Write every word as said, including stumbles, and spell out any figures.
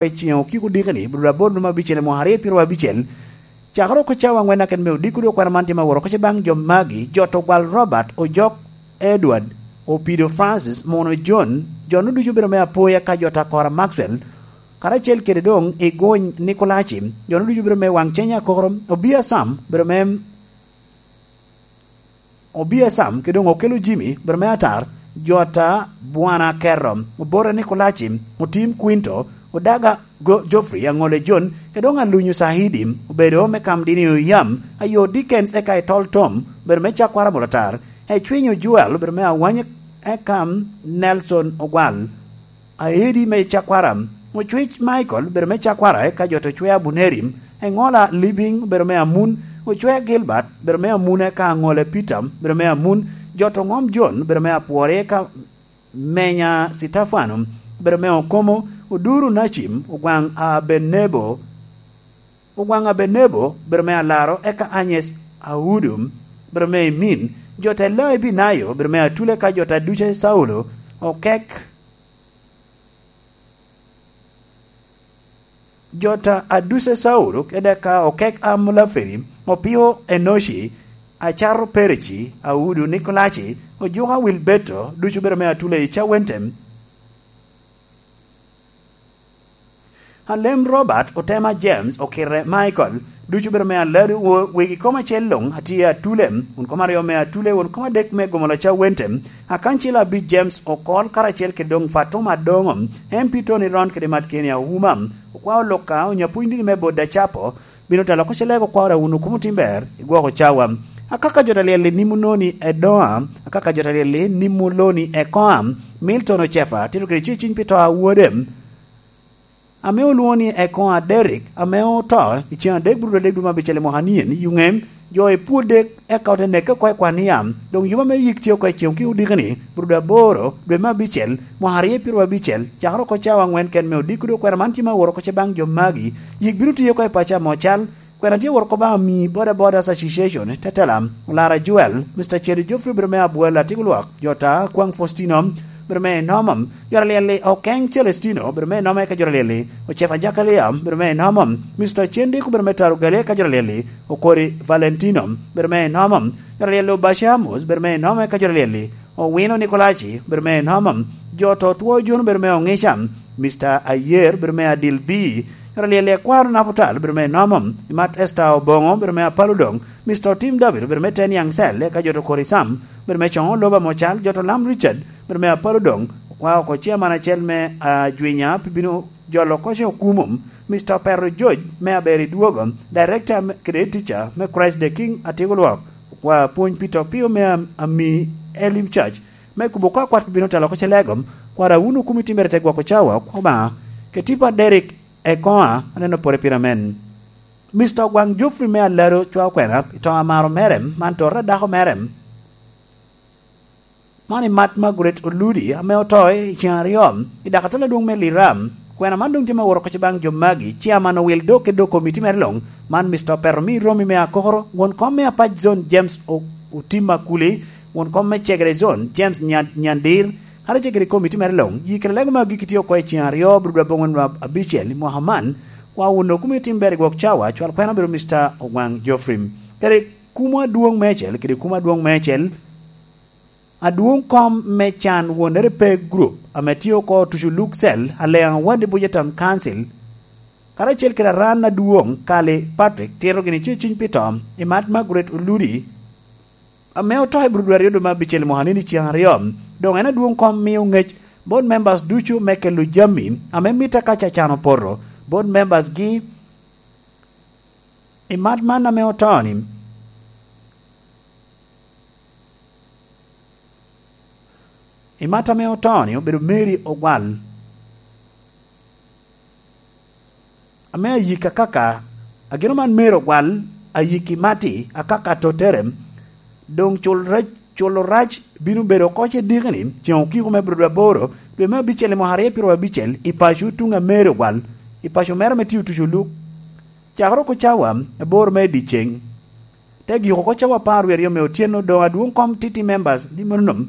i ceŋ okiko diki-ni, bro aboro num abicel i mwaka aryo pyeraryo abicel. Cakere oko cawa aŋwen aket me odiko dwe kwena man tye ma woro oko ce baŋ jo magi, Jot Ogwal Robert, Ojok Edward, Opido Francis, Mono John, jo-nu ducu obedo me Apoya ka Jot Akora Maxwell, karacel kede doŋ Igony Nikolaci, jo-nu ducu obedo me Waŋ Cenya Akokoro, Obia Sam, obedo me Obia Sam, kede doŋ Okelo Jimmy, obedo me Atar, Jota Bwana Kerro, Obore Nikolaci, Otim Quinto, Odaga Go-, Geoffrey, Aŋole John, kede doŋ Alunyu Saidi, obedo me Kamdini Oyam, Ayo Dickens, eka Itol Tom, obedo me Cakwara Mulatar, Ecwinyo Joel, obedo me Awany, eka Nelson Ogwal, Aedi me Cakwara, Ocwic Michael, obedo me Cakwara, eka Jot Ocwe Abuneri, Eŋola Living, obedo me Amun, Ocwe Gilbert, obedo me Amun, eka Aŋole Peter, obedo me Amun, Jot Oŋom John, obedo me Apwori, eka Menya Sitefano, obedo me Okomo, Oduru Nacim, Ogwaŋ Abenebo, Ogwaŋ Abenebo, obedo me Alaro, eka Agnes Audu, obedo me Emin, Jot Eloi Binayo, obedo me Atule, eka Jot Aduce Saulo, Okek, Jot Aduce Saulo, kede ka Okek Amulaferi, Opio Enoci, Acaro Pereci, Audu Nikolaci, Ojuka Wilberto, ducu obedo me Atule i Cawentem. Alem Robert, Otema James, Okirre Michael, ducu obedo me Aladu, wo-, wegi kom acel luŋ atye Atule, won kom aryo me Atule, won kom adek me Gomolo Cawentem, Akancil Abic James Okol, karacel kede doŋ Fatuma Adoŋo, M P Tony Ron kede Matkeni Auma, okwao Luka, Onyapwony dini me Boda Capo, bino telo oko ce lego kwao Rawuno Kumo Timber, i gwoko cawa. Akaka Jot Alyel-li nimo noni Edoa, Akaka Jot Alyel-li nimo loni Ekoa, Milton Ocefa, tito kede ceciny pi to a wode. Ame olwoŋo ni Ekoa Derrick, ame oto i ceŋ adek bur adek dwe me abicel i mwaka nien, i Yuŋem, jo epwodde, eka ote neke oko i kwan yam. Doŋ yub ame yik tye oko i ceŋ okiko diki-ni, bur dwe aboro, dwe me abicel, mwaka aryo pyeraryo abicel, cakere oko cawa aŋwen ken me odiko dwe kwena man tye ma woro oko ce baŋ jo magi. Yik bino tiyo oko i paco amo cal, kwena tye woro oko baŋ ami Boda Bodas Association, tetela, Olara Joel, Mister Cheri Geoffrey obedo me Abwel Atik Olwak, Jota Kwaŋ Faustino, obedo me Nomom, Jot Alyel-li Okeny Celestino, obedo me Nomom eka Jot Alyel-li Ocefa Jakalia, obedo me Nomom, Mister Cendiko obedo me Taro Galia eka Jot Alyel-li Okori Valentino, obedo me Nomom, Jot Alyel-li Obaci Amos, obedo me Nomom eka Jot Alyel-li Owino Nikolaci, obedo me Nomom, Jot Otwo Jun obedo me Oŋica, Mister Ayer obedo me Adil B, Jot Alyel-li Akwaro Naputal obedo me Nomom, Imat Esther Oboŋo obedo me Apalo Doŋ, Mister Otim David obedo me Ten Young Cell, eka Jot Okori Sam obedo me Coŋo Loba Mocal, Jot Olam Richard obedo me Apalo Doŋ, okwao oko chairman acel me Ajwinya pi bino jolo oko ce Okumo, Mister Opero George me Aber i Dwogo, Director me, kede Teacher me Christ the King Atik Olwak, okwao Apwony Peter Opio me Am-, Ami Elim Church, me kubo oko akwat pi bino telo oko ce lego, kwaro Awuno Kumo Timber i te gwoko cawa, Obaŋa, Ketipa Derrick Ekoa, aneno pore pire amen. Mister Ogwaŋ Geoffrey me Alado cwao kwena i to amaro mere, man tota dako mere. Man Imat Margaret Oludi, ame oto i ceŋ aryo, i dakatala adwoŋ me Liram. Kwena man doŋ tye ma woro oko ce baŋ jo magi, Chairman Owil Dok kede doŋ komiti mere luŋ, man Mister Opero me Romi me Akokoro, won kom me Apac Zone James O-, Otim Akuli, won kom me Cegere Zone James Nya-, Nyandir, kadi ce kede komiti mere luŋ. Yi kede lego me agikki tye oko i ceŋ aryo, bur dwe aboŋwen dwe abicel i mwaka man, kwa wun Okumo Timber i gwok cawa, cwal kwena obedo Mister Ogwaŋ Geoffrey. Kede kumo adwoŋ meicel, kede kumo adwoŋ meicel, Adwoŋ kom me can won Repair Group ame tye oko Tucu Luk Cell, Aleŋ Awadi Buja Town Council, karacel kede aran adwoŋ Kali Patrick tito gini ce cuny pi to, Imat Margaret Oludi, ame oto i bur dwe aryo dwe me abicel mwaka ni i ceŋ aryo. Doŋ en adwoŋ kom mio ŋec board members ducu me kelo jami ame mitte ka Catan opoto. Board members gi, Imat man ame oto-ni, Imat ame oto-ni obedo Mary Ogwal, ame ayik akaka, ageno man Mary Ogwal, ayik Imati akaka totere, doŋ cul rac, culo rac bino bedo oko ce diki-ni, ceŋ okiko me bur dwe aboro, dwe me abicel i mwaka aryo pyeraryo abicel, i paco tuŋ a Mary Ogwal, i paco mere ame tye Otuco Luk, cakere oko cawa aboro me dyeceŋ. Te giko oko cawa apar wie aryo me otyeno, doŋ adwoŋ kom T T members, di mono nom,